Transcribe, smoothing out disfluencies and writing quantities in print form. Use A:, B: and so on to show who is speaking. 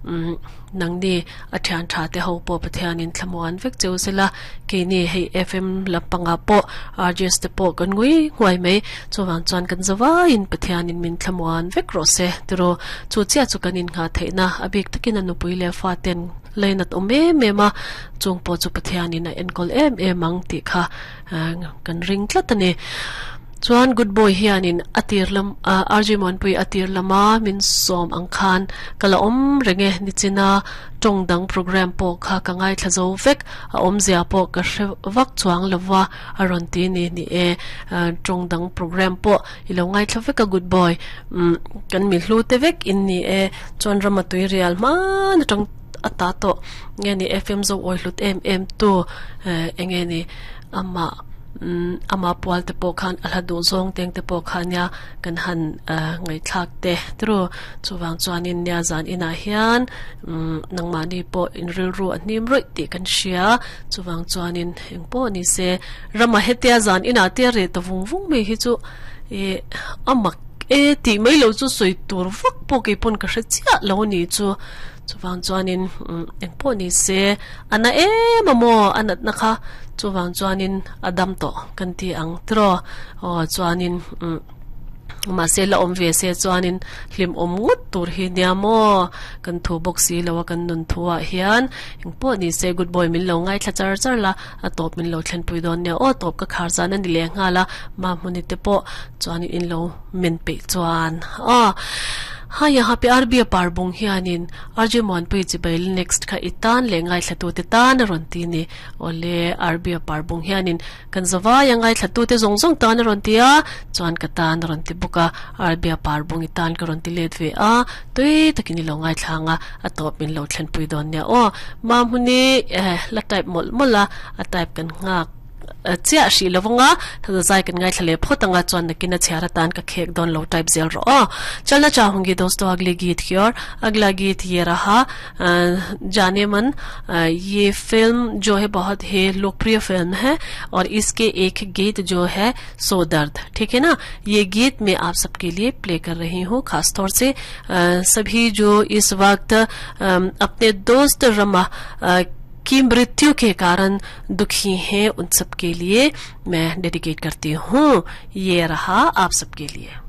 A: Umm nangni a thian tha te ho pawh Pathianin thlamuan vek cheu sela keini hei FM lampangah pawh RJs te pawh kan ngui nghuai mai chuvang chuan kan zavaiin Pathianin min thlamuan vek rawh se tiraw chu chiah chu kan innghah theihna a bik takin a nupui leh fa ten lainat awm em em a chung pawh chu Pathianin a enkawl em em ang tih kha kan ring tlat a ni. Chuan good boy hianin a tir lam RG Muanpui a tir lama min sawm ang khan ka la awm reng e nichina tawng dang program pawh kha ka ngaithla zo vek a awmzia pawh ka hre vak chuang lova a rawn ti ni ni e tawng dang program pawh i lo ngaithla vek a good boy kan mi hlu te vek in ni e chuan rama tui rial hman atang a ta tawh nge ni FM zo awi hlut em em tu enge ni amah ama pual te pawh khan a hla duh zawng teng te pawh kha nia kan han ngaihthlak te tru chuvang chuanin nia zan inah hian nangmahni pawh in rilru a hnim rawih tih kan hria chuvang chuanin eng pawh ni se rama hetia zan inah te reh ta vung vung mai hi chu ih a mak e tih mai lo chu sawi tur vak pawh kei pawn ka hre chiah lo a ni chu chuvang chuanin eng pawh ni se A na em a maw? A natna kha chuvang chuanin a dam tawh kan ti ang tiraw? Aw chuanin umm mahse la awm ve se chuanin hlim awm ngawt tur hi nia maw? Kan thu bawk si lo a kan nun thu ah hian engpawh ni se good boy min lo ngaithla char char la a tawp min lo thlenpui dawn nia aw tawp ka khar zan a ni leh nghal a mahmuni te pawh chuanin in lo men peih chuan aw ha yaha pe RB a par bung hianin RJ Muanpui chibai next kha i tan leh ngaithlatute tan a rawn ti ni. Awle RB a par bung hianin kan zavai a ngaithlatute zawng zawng tan a rawn ti a, chuan ka tan a rawn ti bawk a, RB a par bung i tan ka rawn ti let ve a, tui takin i lo ngaithla ang a, a tawp min lo thlenpui dawn nia aw. Mahmuni eh la type mawlh mawlh a, a type kan nghak. Chiah hrih lo vanga zai kan ngaithla leh phawt anga chuan nakin a chhiar atan ka khek dawn lo type zel rawh aw. Chalna chahungi dosto agli geet ki aur agla geet ye raha jaane man ye film jo hai bahut hi lokpriya film hai aur iske ek geet jo hai so dard theek hai na ye geet main aap sabke liye play kar rahi hu khaas taur se sabhi jo is waqt apne dost rama की मृत्यु के कारण दुखी हैं उन सब के लिए मैं डेडिकेट करती हूँ ये रहा आप सबके लिए।